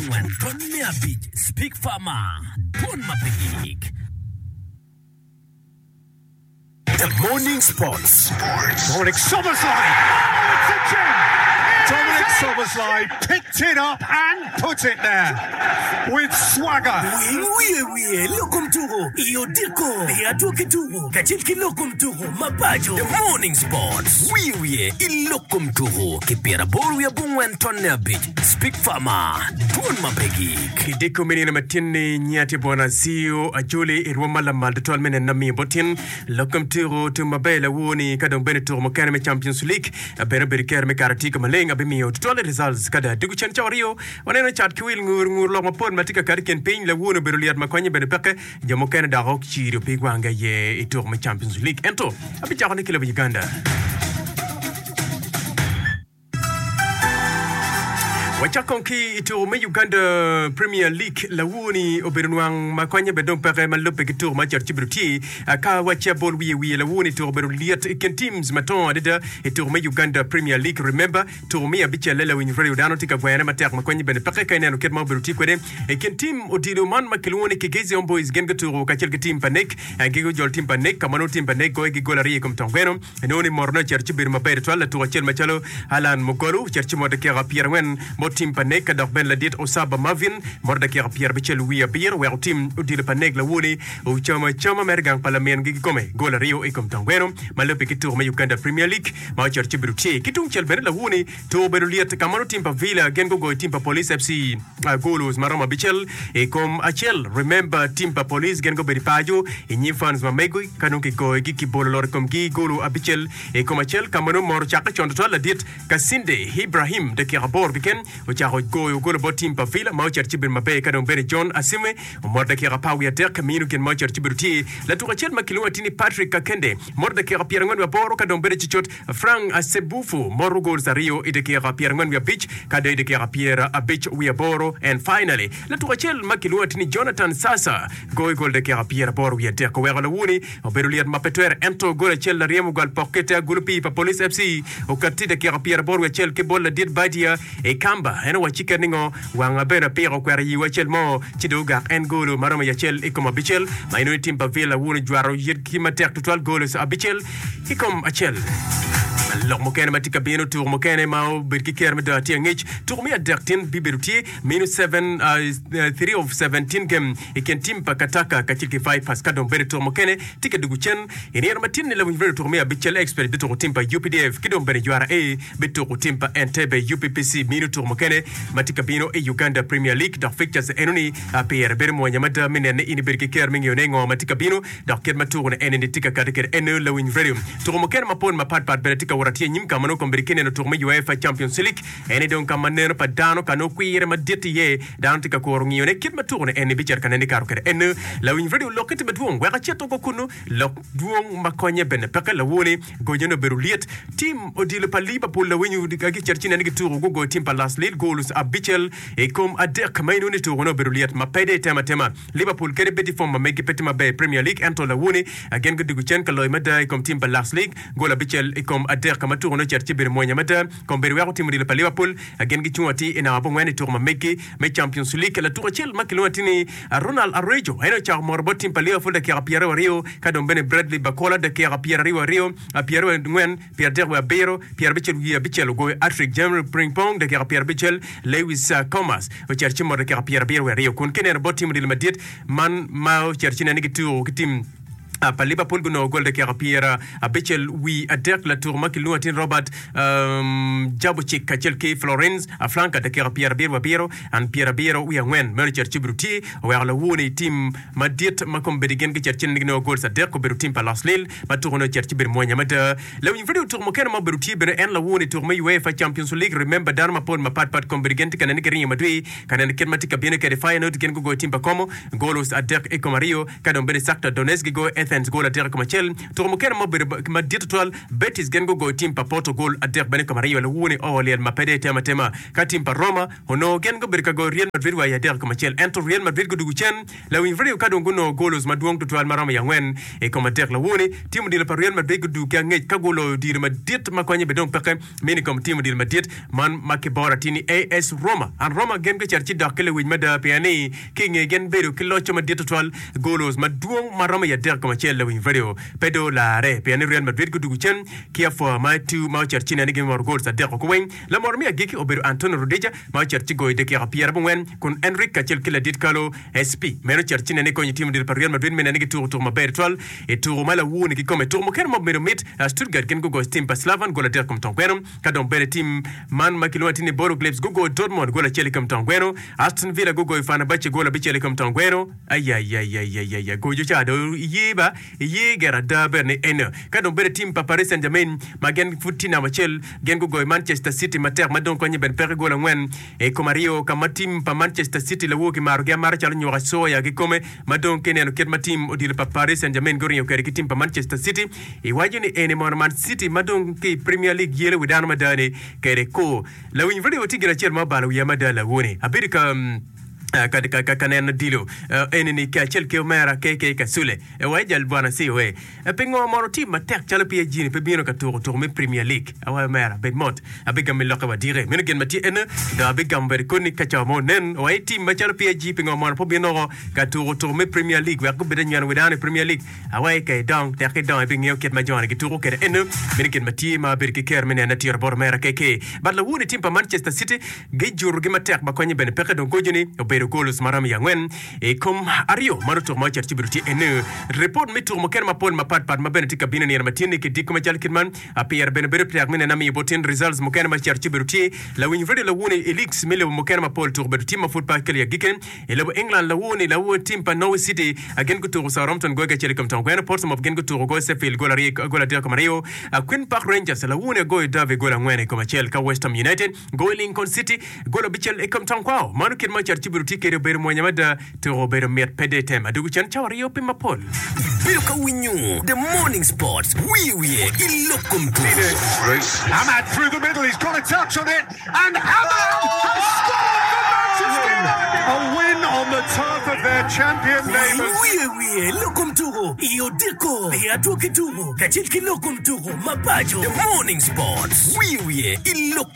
abongwen tony me abic Speak Farmer Dwon ma pe gik. The Morning Sports. Dominic Szoboszlai. Oh, it's a gem! Dominic Szoboszlai picked it up and put it there with swagger. Winy wiye wiye lok kom tuko i odiko i adwoki tuko kacel ki lok kom tuko ma paco. The Morning Sports. Wiye wiye i lok kom tuko ki pyeraboro wiye abongwen tonne abic. Speak Farmer, Dwon ma pe gik. I dyeko me nino matin-ni, nyiya tye bwona aciyo ajoli i rwom ma lamal tutwal me neno amiyo bot tin. Lok kom tuko tum maber lawor-ni ka dong bene tuko mukene me Champions League bene obedo kero me kato atika maleng abimiyo tutwal i results ka dong adwogo cen cawa aryo waneno cat ki wil ngur ngur lok mapol ma tye ka kato i kin piny lawor-ni obedo lyet ma konye bene peke jo mukene dok ocido pig wange aye i tuko me Champions League ento abicako ni ki lobo Uganda. Wacak kong ki i tuko me Uganda Premier League lawur-ni obedo nwang ma konye bene dong peke ma lubbe ki tuko ma ocito ci bedo tye ka wacci abol wiye wiye lawur-ni tuko obedo lyet i kin teams matongo adada i tuko me Uganda Premier League Remember tuko me abicelle lawiny radio dano tye ka gwene matek ma konye bene peke ka ineno kit ma obedo tye kwede i kin team odilo man ma kilwongo ni Kigezi Homeboyz gin gutuko kacel ki team pa Nek gigujolo team pa Nek ka ma nongo team pa Nek goyogi gol aryo i kom tong gweno Inongo ni motone ocito ci bedo maber tutwal. Latuko acel macalo Allan Mugolu ocito ci moto dakika pyerangwen ma otim pa Nek ka dok bene ladit Osaba Marvin moto dakika pyerabicel wiye abiro wek otim odilo pa Nek lawoni ocamo acama mere gang pa lamingi kikome gol aryo i kom tongweno ma lubbe ki tuko me Uganda Premier League ma ocito ci bedo tye. Ki tungcel bene lawoni tuko obedo lyet ka ma nongo tim pa Villa gin gugoyo tim pa Police FC goals ma romo abicel i kom acel. Remember tim pa Police gin gubedo i paco i nyim fans ma megi ka nongo kigoyogi kibolo lot i komgi golo abicel i kom acel ka ma nongo mot ocakke con tutwal ladit Kasinde Ibrahim dakika aboro keken ocako goyo golo bot tim pa Villa ma ocito ci bedo maber ka dong bene John Asime omoto dakika apar wiye adek mino gin ma ocito ci bedo tye latuk acel ma kilwongo atir ni Patrick Kakende moto dakika pyerangwen wiye aboro ka dong bene cucut Frank Sebufu moto goals aryo i dakika pyerangwen wiye abic ka dong i dakika pyerabic wiye aboro and finally latuk acel ma kilwongo atir ni Jonathan Sasa Goyo gol dakika pyeraboro wiye adek oweko lawoni obedo lyet ma pe twere ento gol acel laryem ogwal pok ki te agulu pii pa Police FC okatti dakika pyeraboro wiye acel ki bot ladit Badia i Kamba. En owacci ket ningo wang bene apiko okwero yiwu acel mo ci dong ogak en golo ma romo i acel i kom abicel ma inongo i tim pa Villa wun ojwato yitgi matek tutwal golos abicel i kom acel. Lok mukene ma tye ka bino tuko mukene ma obedo ki kero me dongo atir angec tuko me adek tin bibedo tye Mino 3 of 17 game i kin tim pa Kataka kacel ki Vipers ka dong bene tuko mukene tye ka dugo cen i nino ma tin-ni lawiny radio tuko me abicel Expert bituko tim pa UPDF ki dong bene URA bituko tim pa Entebbe UPPC mino tuko mukene ma tye ka bino i Uganda Premier League dok fixtures enoni pire bedo mwonya mada me nene in ibedo ki kero me ngeyone ngo ma tye ka bino dok kit ma tuko-ni enini tye ka kati kwede eno lawiny radio tuko mukene mapol mapat pat bene tye ka wot atir anyim ka ma nongo kombeddi ki neno tuko me UEFA Champions League En aye dong ka ma neno pa dano ka nongo kwire madit iye. Dano tye ka kuro ngiyone kit ma tukone en-ni bicito ka nene kato kwede. En lawiny redio lokke tye madwong wek acit oko kunnu. Lok dwong ma konye bene peke. Lawoni gonyone obedo lyet. Tim odilo pa Liverpool lawiny ka gicito ci nene gituko gugoyo tim pa Las Lille goals abicel i kom adek ma inongo ni tukone obedo lyet ma pe dong itemo atema. Liverpool kadi bed i fom ma megi pe tye maber i Premier League ento lawoni gin gudwogo cen ka loyo mada i kom tim pa Las League gol abicel i kom adek ma tukone ocito ci bedo mwonya mada. Kombeddi weko tim odilo pa Liverpool gin gicung atir i namba abongwen i tuko ma meggi me Champions League. Latuko acel ma kilwongo atir ni Ronald Araujo en ocako moro bot tim pa Liverpool dakika 22 ka dong bene Bradley Barcola dakika 22, 24, 37, 57 ogoyo hat-trick, Jeremy Frimpong dakika 50, Lewis Comas ocito ci moro dakika 72 kun kineno bot tim odilo madit man ma ocito ci nene gituko ki tim pa Liverpool gunongo gol dakika pyera abicel wi adek latuko ma kilwongo atir Robert Jabucic kacel ki Florence Flanker dakika pyerabiro wi abiro and pyerabiro wi angwen meno ocito ci obedo tye oweko lawoni tim madit ma kombeddi gin gicito cen ni ginongo gols adek obedo tim pa Los Lille ma tukone ocito ci bedo mwonya mada. Lawiny radio tuko mukene ma obedo tye bene en lawoni tuko me UEFA Champions League Remember dano mapol mapat pat kombeddi gin tye ka nene ki ringo madwir ka neno kit ma tye ka bino kwede Feyenoord gin gugoyo tim pa Como golos adek i kom aryo Ka dong bene Shakhtar Donetsk gigoyo Athens. Athens gol adek i kom acel. Tuko mukene ma obedo madit tutwal, Betis gin gugoyo tim pa Porto gol adek bene i kom aryo. Lawur-ni oo lyel ma pe dong etemo atema ka tim pa Roma onongo gin gubedo ka goyo Real Madrid wa i adek i kom acel ento Real Madrid gudugo cen lawiny radio ka dong gunongo golos madwong tutwal ma romo i angwen i kom adek. Lawur-ni tim odilo pa Real Madrid gudugo ki angec ka guloyo odilo madit ma konye bene dong peke mini i kom tim odilo madit man ma kiboro atir ni AS Roma. An Roma gin gucito ci dok ki lewic mada pien ni ki i nge gin bedo ki locco madit tutwal, golos madwong ma romo i adek kom acel lawiny radio pe dong olarre pien ni Real Madrid gudugo cen ki apwa ma etu ma ocito ci nene gimoro gols adek oko weng. Lamoro me agikki obedo Antonio Rudiger ma ocito ci goyo dakika pyerabongwen kun Endrick kacel ki ladit kalo SP meno ocito ci nene konyo tim odilo pa Real Madrid me nene gituko tuko maber tutwal i tuko ma lawur-ni kikome. Tuko mukene ma obedo mit, Stuttgart gin gugoyo tim pa Slaven gol adek kom tong gweno. Ka dong bene tim man ma kilwongo atir ni Bodo Glimt gugoyo Dortmund gol acel i kom tong gweno. Aston Villa gugoyo Fenerbahce gol abicel i kom tong gweno. Ayayayayaya gojo ca dong iye ba iye gire ada bene ni eno. Ka dong bene tim pa Paris Saint-Germain ma gin pud tye namba acel gin gugoyo Manchester City matek ma dong konye bene peke gol angwen i kom aryo ka ma tim pa Manchester City lawor kimarogi amara calo nyuka coya kikome ma dong ka ineno kit ma tim odilo pa Paris Saint-Germain guringo kwede ki tim pa Manchester City iwaco ni eni mono Man City ma dong ki i Premier League yelo wi dano mada ni kede kur. Lawiny radio tye gin acel ma obalo wiya mada lawoni abedo ka ka ka neno dilo eni ni kacel ki omera KK Kasule wa i jal bwana COA pingo mono tim matek calo PSG ni pe bino ka tuko tuko me Premier League awayo omera bed mot abigamo i lokke wa dike meno gin ma tye ene dong abigamo bene koni ka cawa mo nen wa i tim macalo PSG pingo mono pe obino oko ka tuko tuko me Premier League wek gubed anyweno wi dano i Premier League awayo ka idong tek idong ibingeyo kit ma joni gituko kwede ene meno gin ma tye ma abedo ki kero me nene atiro bot omera KK but lawoni tim pa Manchester City Gijurogi matek ma konye bene peke dong gojo-ni obedo goals ma romo i angwen i kom aryo ma nongo tuko ma ocito ci obedo tye eni. Ripot me tuko mukene mapol mapat pat ma bene tye ka bino nino ma tye-ni ki diko macalo kit man pire bene bedo tek me neno amiyo bot tin results mukene ma cito ci obedo tye. Lawiny radio lawoni i leagues me lobo mukene mapol tuko obedo tye ma pud pe akelo i agikki. I lobo England lawoni lawo tim pa Norwich City gin gutuko Southampton goyo ki acel i kom tong gweno, Portsmouth gin gutuko goyo Sheffield gol aryo gol adek i kom aryo, Queen Park Rangers lawoni agoyo Derby gol angwen i kom acel ka West Ham United Goyo Lincoln City gol abicel i kom tong kwao. Mano kit ma cat ci obedo tye kwede obedo mwonya mada. Tuko obedo mit pe de tem adwogo cen cawa aryo pi mapol. Ibedo ka winyo The Morning Sports wiye wiye i lok kom tuko. Amad through the middle, he's got a touch on it, and Amad has scored for Manchester United! A win on the turf of their champion neighbours. Wiye wiye lok kom tuko i odiko i adwogi tuko kacel ki lok kom tuko mabaco. The Morning Sports wiye wiye i lok.